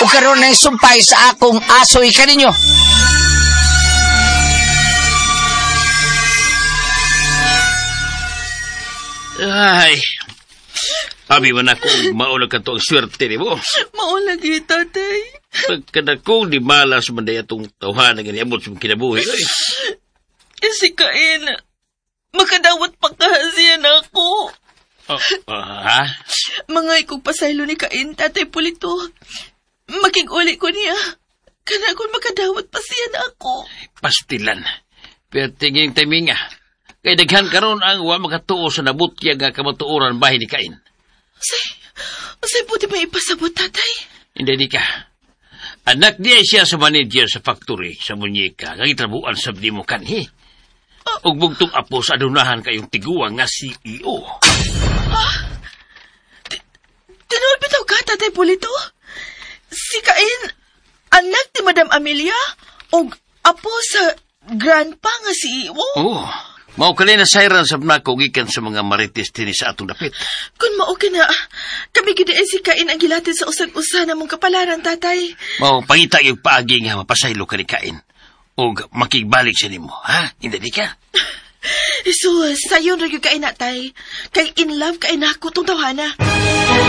Ug karon nang sumpay sa akong asoy kaninyo. Ay, abi man ako, mao lang kato ang swerte ni mo. Mao lagi, tatay. Pagkadakong di malas man day atong tawhanan nga niabot sa kinabuhi. Oy. Si Kain, makadawat pa kahasiyan ako. Oh, ha? Mga ikong pasaylo ni Kain, Tatay Pulito. Makig-uli ko niya. Kana kung makadawat pa siya na ako. Pastilan. Pero tingin timinga. Kay daghan karon ang wa makatuo sa nabutya nga kamatuoran bahin ni Kain. Usay puti may ipasabot, tatay? Hindi di ka. Anak niya siya sa manager sa factory sa munyeka nga gitrabuan sa di mo kanhi. Ug bugtong apo sa adunahan kayong tiguang nga CEO. Tinuod bitaw ka, Tatay Pulito? Si Kain, anak ni Madam Amelia, og apo sa grandpa nga CEO? Oh, mao kani na sayran sab nako gikan sa mga marites dinhi sa atong dapit. Kung mao kina, kami gid si Kain ang gilatid sa usag-usa namong kapalaran, tatay. Mao pangita yung paagi nga mapasaylo ka ni Kain. Og makigbalik siya nimo, ha? Hindi di ka? So, sayon ra gyud kay na, tay. Kay in love kay nako tong tawhana.